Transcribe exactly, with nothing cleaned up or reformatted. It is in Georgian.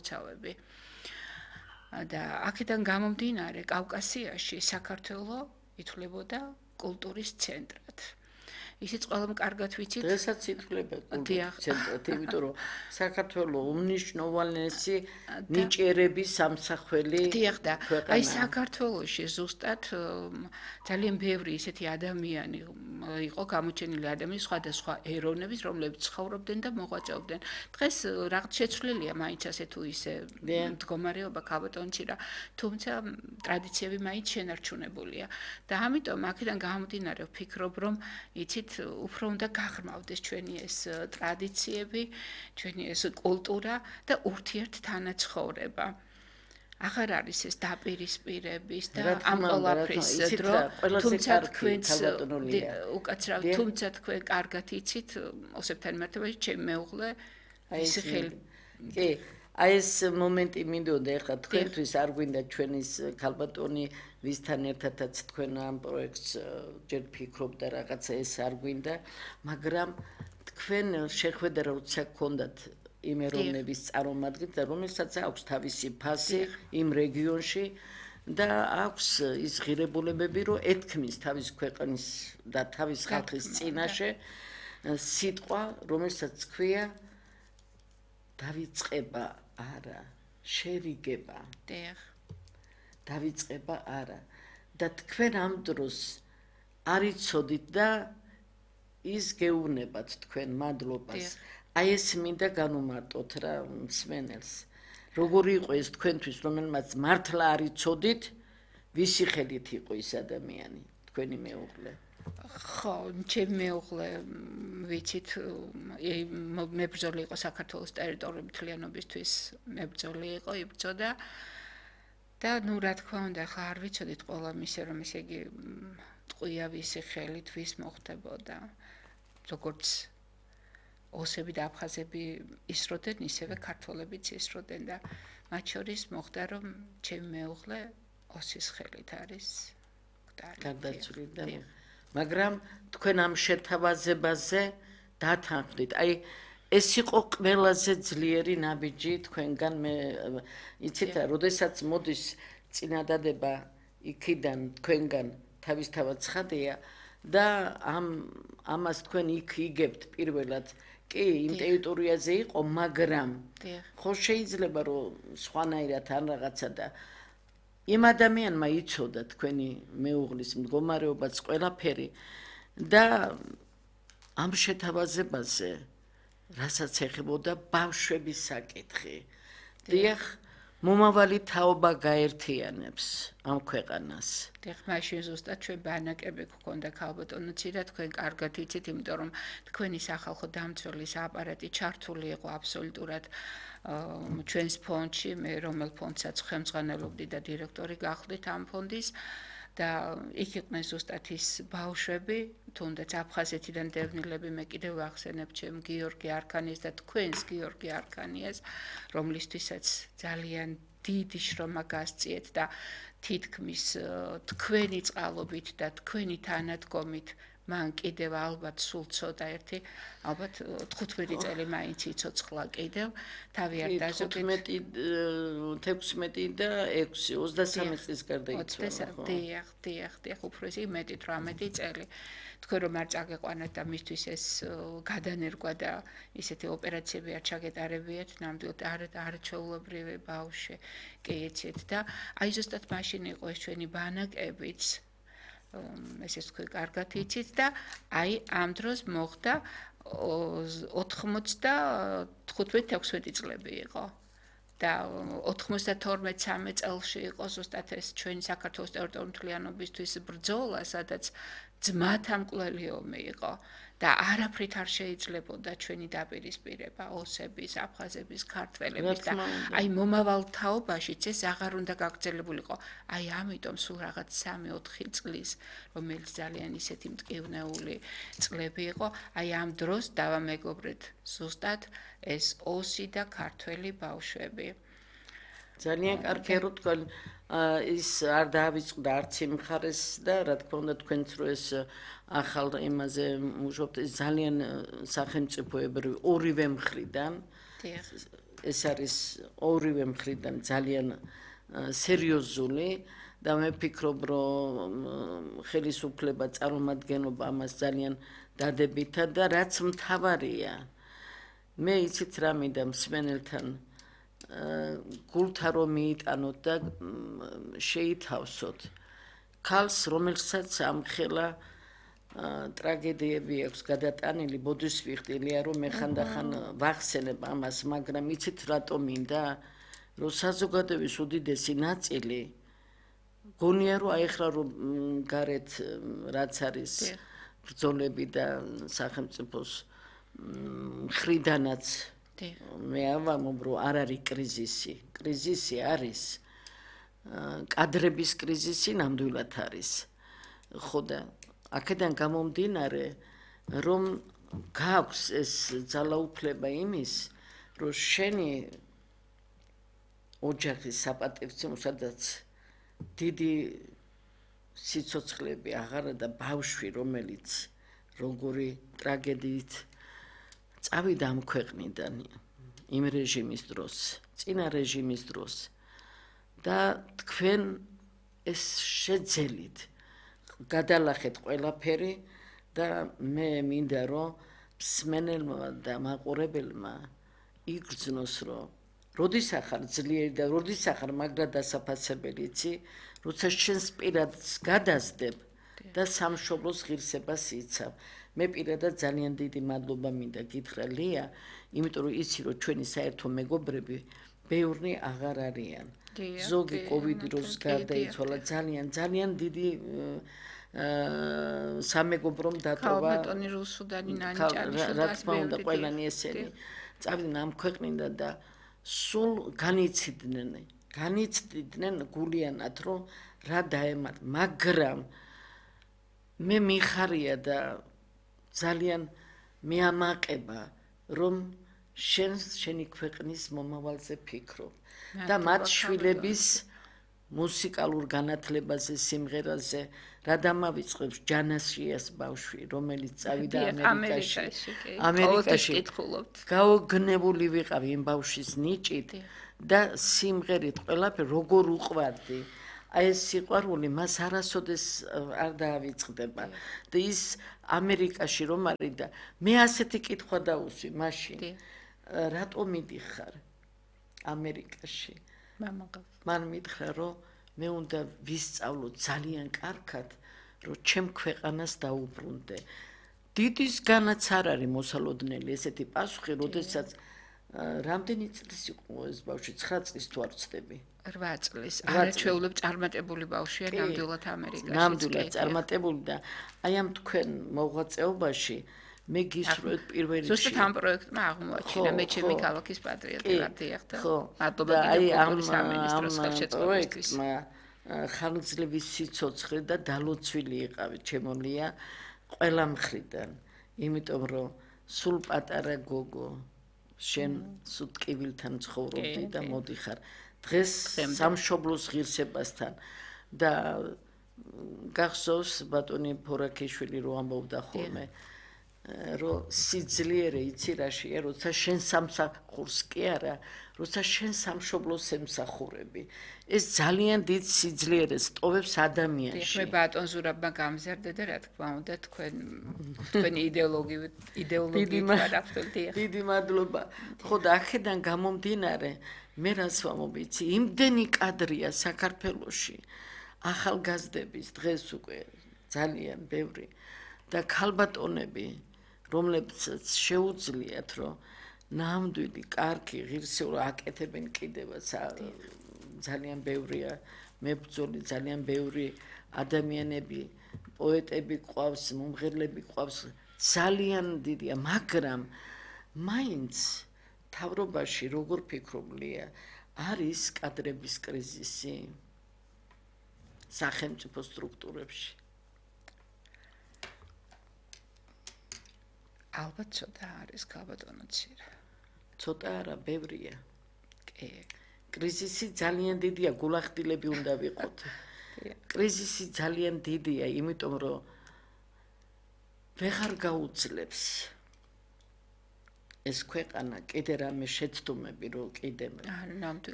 გამომცავები. და აქედან გამომდინარე კავკასიაში საქართველო ითვლებოდა კულტურის ცენტრად. ისიც ყველამ კარგად ვიცით. დღესაც ითვლება კულტურის ცენტრად, იმიტომ რომ საქართველოს უმნიშვნელოვანესი ნიჭიერების სამსახველი ქვეყანაა. აი საქართველოში ზუსტად ძალიან ბევრი ისეთი ადამიანი იყო გამოჩენილი ადამიანები სხვადასხვა ეროვნების, რომლებიც ცხოვრობდნენ და მოღვაწეობდნენ. დღეს რაღაც შეცვლილია მაინც ასე თუ ისე მდგომარეობა ქალბატონში რა, თუმცა ტრადიციები მაინც შენარჩუნებულია. და ამიტომ აქედან გამომდინარე ვფიქრობ, რომ იცით უფრო უნდა გაღრმავდეს ჩვენი ეს ტრადიციები, ჩვენი ეს კულტურა და ურთიერთთანაცხოვრება. აღარ არის ეს დაპირისპირების და ამ ყველაფრის დრო, თუმცა თქვენც უკაცრავ, თუმცა თქვენ კარგად იცით, ოსებთან მიმართებაში ჩემი მეუღლე ის ხელი. კი, აი ეს მომენტი მინდოდა ეხლა თქვენთვის არ გვინდა ჩვენის ქალბატონი ვისთან ერთადაც თქვენ ამ პროექტს ჯერ ფიქრობდა რაღაცა ეს არ გვინდა, მაგრამ თქვენ შეხვედრა როცა გქონდათ იმ ეროვნების წარმომადგენლებს და რომელსაც აქვს თავისი ფასი იმ რეგიონში და აქვს ის ღირებულებები, რომ ეთქმის თავის ქვეყნის და თავის ხალხის წინაშე სიტყვა, რომელსაც ქვია დავიწყება არა, შერიგება. დიახ. დავიწყება არა. და თქვენ ამ დროს არ იცოდით და ის გეუბნებათ თქვენ მადლობას. აი ეს მინდა განუმარტოთ რა მსმენელს. როგორი იყო ეს თქვენთვის, რომელმაც მართლა არ იცოდით, ვისი ხელით იყო ის ადამიანი, თქვენი მეუღლე? ხო, ჩემი მეუღლე ვიცით, მებრძოლი იყო საქართველოს ტერიტორიული მთლიანობისთვის, მებრძოლი იყო, იბრძოდა და ნუ რა თქმა უნდა, ხა არ ვიცოდით ყველა მისე რომ ესე იგი ტყვია ვისი ხელით ვის მოხდებოდა. როგორც ოსები და აფხაზები ისროდნენ, ისევე ქართველებიც ისროდნენ და მათ შორის მოხდა რომ ჩემი მეუღლე ოსის ხელით არის გარდაცვლილი და მაგრამ თქვენ ამ შეთავაზებაზე დათანხმდით. აი ეს იყო ყველაზე ძლიერი ნაბიჯი თქვენგან მე იცით, როდესაც მოდის წინადადება იქიდან თქვენგან თავისთავად ცხადია და ამ ამას თქვენ იქ იგებთ პირველად კი იმ ტერიტორიაზე იყო, მაგრამ ხო შეიძლება რომ სხვანაირად ან რაღაცა და იმ ადამიანმა იცოდა თქვენი მეუღლის მდგომარეობაც ყველაფერი და ამ შეთავაზებაზე რასაც ეხებოდა ბავშვების საკითხი. დიახ, მომავალი თაობა გაერთიანებს ამ ქვეყანას. დიახ, მაშინ ზუსტად ჩვენ ბანაკები გქონდა ქალბატონოც და თქვენ კარგად იცით, იმიტომ რომ თქვენი სახალხო დამცველის აპარატი ჩართული იყო აბსოლუტურად ჩვენს ფონდში, მე რომელ ფონდსაც ხელმძღვანელობდი და დირექტორი გახდით ამ ფონდის და იქ იყვნენ ზუსტად ის ბავშვები, თუნდაც აფხაზეთიდან დევნილები, მე კიდევ ვახსენებ ჩემ გიორგი არქანიას და თქვენს გიორგი არქანიას, რომლისთვისაც ძალიან დიდი შრომა გასწიეთ და თითქმის თქვენი წყალობით და თქვენი თანადგომით მან კიდევ ალბათ სულ ცოტა ერთი, ალბათ თხუთმეტი წელი მაინც იცოცხლა კიდევ, თავი არ დაზოგეთ. თექვსმეტი და ექვსი, ოცდასამი წლის გარდა იცოცხლა. დიახ, დიახ, დიახ, უფრო ისე მეტი თვრამეტი წელი. თქვენ რომ არ წაგეყვანათ და მისთვის ეს გადანერგვა და ისეთი ოპერაციები არ ჩაგეტარებიათ, ნამდვილად არ არჩეულებრივი ბავშვი კი იცით და აი ზუსტად მაშინ იყო ეს ჩვენი ბანაკებიც ესეც თქვენ კარგად იცით და აი ამ დროს მოხდა ოთხმოცდათხუთმეტი თექვსმეტი წლები იყო და ოთხმოცდათორმეტ სამი წელში იყო ზუსტად ეს ჩვენი საქართველოს ტერიტორიული მთლიანობისთვის ბრძოლა, სადაც ძმათა მკვლელი ომი იყო და არაფრით არ შეიძლებოდა ჩვენი დაპირისპირება ოსების, აფხაზების, ქართველების და აი მომავალ თაობაშიც ეს აღარ უნდა გაგრძელებულიყო. აი ამიტომ სულ რაღაც სამი ოთხი წლის, რომელიც ძალიან ისეთი მტკივნეული წლები იყო, აი ამ დროს დავამეგობრეთ ზუსტად ეს ოსი და ქართველი ბავშვები. ძალიან კარგი რომ თქვენ ის არ დაავიწყდა არც იმ მხარეს და რა თქმა უნდა თქვენც რო ეს ახალ იმაზე მუშაობთ, ეს ძალიან სახელმწიფოებრივი ორივე მხრიდან ეს არის ორივე მხრიდან ძალიან სერიოზული და მე ვფიქრობ, რომ ხელისუფლება წარმომადგენლობა ამას ძალიან დადებითა და რაც მთავარია, მე იცით რა მინდა მსმენელთან გულთა რომ მიიტანოთ და შეითავსოთ ქალს, რომელსაც ამხელა ტრაგედიები აქვს გადატანილი, ბოდიშვიხტილია, რომ მე ხანდახან ვახსენებ ამას, მაგრამ იცით რატომ მინდა, რომ საზოგადოების უდიდესი ნაწილი გონია, რომ აი ახლა რომ გარეთ რაც არის ბრძოლები და სახელმწიფოს მხრიდანაც მე ავამობ, რომ არ არის კრიზისი. კრიზისი არის კადრების კრიზისი ნამდვილად არის. ხო და აქედან გამომდინარე, რომ გაქვს ეს ძალაუფლება იმის, რომ შენი ოჯახის საპატივცემო, სადაც დიდი სიცოცხლეები აღარა და ბავშვი, რომელიც როგორი ტრაგედიით წავიდა ამ ქვეყნიდან იმ რეჟიმის დროს, წინა რეჟიმის დროს და თქვენ ეს შეძელით გადალახეთ ყველაფერი და მე მინდა რომ მსმენელმა და მაყურებელმა იგრძნოს რომ როდის ახარ ძლიერი და როდის ახარ მაგრად დასაფასებელი იცი, როცა შენს პირადს გადასდებ და სამშობლოს ღირსებას იცავ. მე პირადად ძალიან დიდი მადლობა მინდა გითხრა ლია, იმიტომ რომ იცი რომ ჩვენი საერთო მეგობრები ბევრი აღარ არიან. ზოგი კოვიდი დროს გარდაიცვალა, ძალიან ძალიან დიდი სამეგობრომ დატოვა. ქალბატონი რუსუდანი ნანიჭანიშვილი რა თქმა უნდა ყველანი ესენი წავიდნენ ამ ქვეყნიდან და სულ განიცდიდნენ, განიცდიდნენ გულიანად რომ რა დაემართ, მაგრამ მე მიხარია და ძალიან მეამაყება რომ შენ შენი ქვეყნის მომავალზე ფიქრობ და მათ შვილების მუსიკალურ განათლებაზე, სიმღერაზე რა დამავიწყებს ჯანასიას ბავშვი, რომელიც წავიდა ამერიკაში. ამერიკაში გაოგნებული ვიყავი იმ ბავშვის ნიჭით და სიმღერით ყველაფერი როგორ უყვარდი. აი ეს სიყვარული მას არასოდეს არ დაავიწყდება და ის ამერიკაში რომ არის და მე ასეთი კითხვა დავუსვი მაშინ რატო მიდიხარ ამერიკაში? მან მითხრა რომ მე უნდა ვისწავლო ძალიან კარგად რომ ჩემ ქვეყანას დაუბრუნდე. დიდისგანაც არ არის მოსალოდნელი ესეთი პასუხი, როდესაც რამდენი წლის იყო ეს ბავშვი? ცხრა წლის თუ არ ვცდები? რვა წლის. არაჩვეულებ წარმატებული ბავშვია ნამდვილად ამერიკაში. ნამდვილად წარმატებული და აი ამ თქვენ მოღვაწეობაში მე გისურვებთ პირველ რიგში. ზუსტად ამ პროექტმა აღმოაჩინა მე ჩემი ქალაქის პატრიოტი ვარ დიახ და მადლობა აი ამ სამინისტროს ხელშეწყობისთვის. ხანგრძლივი სიცოცხლე და დალოცვილი იყავი ჩემოლია ყველა მხრიდან, იმიტომ რომ სულ პატარა გოგო შენ სუტკივილთან ცხოვრობდი და მოდიხარ დღეს სამშობლოს ღირსებასთან და გახსოვს ბატონი ფორაქიშვილი რო ამბობდა ხოლმე რომ სიძლიერე იცი რაშია, როცა შენ სამსახურს კი არა, როცა შენ სამშობლოს ემსახურები. ეს ძალიან დიდ სიძლიერეს ტოვებს ადამიანში. მე ბატონ ზურაბმა გამზარდა და რა თქმა უნდა თქვენ თქვენი იდეოლოგიები იდეოლოგიით ვარაფრთია. დიდი მადლობა. ხო და აქედან გამომდინარე მე რას ვამობ იცი, იმდენი კადრია საქართველოში ახალგაზრდების დღეს უკვე ძალიან ბევრი და ქალბატონები რომლებსაც შეუძლიათ რომ ნამდვილი კარგი ღირსეული აკეთებენ კიდევაც ძალიან ბევრია მებრძოლი, ძალიან ბევრი ადამიანები, პოეტები ყავს, მომღერლები ყავს, ძალიან დიდია, მაგრამ მაინც თავრობაში როგორ ფიქრობლია, არის კადრების კრიზისი სახელმწიფო სტრუქტურებში. ალბათ ცოტა არის ქალბატონო ცირა. ცოტა არა, ბევრია. კი. კრიზისი ძალიან დიდია, გულახდილები უნდა ვიყოთ. კრიზისი ძალიან დიდია, იმიტომ რომ ვეღარ გაუძლებს ეს ქვეყანა კიდე რამე შეცდომები რო კიდე ნამდვილად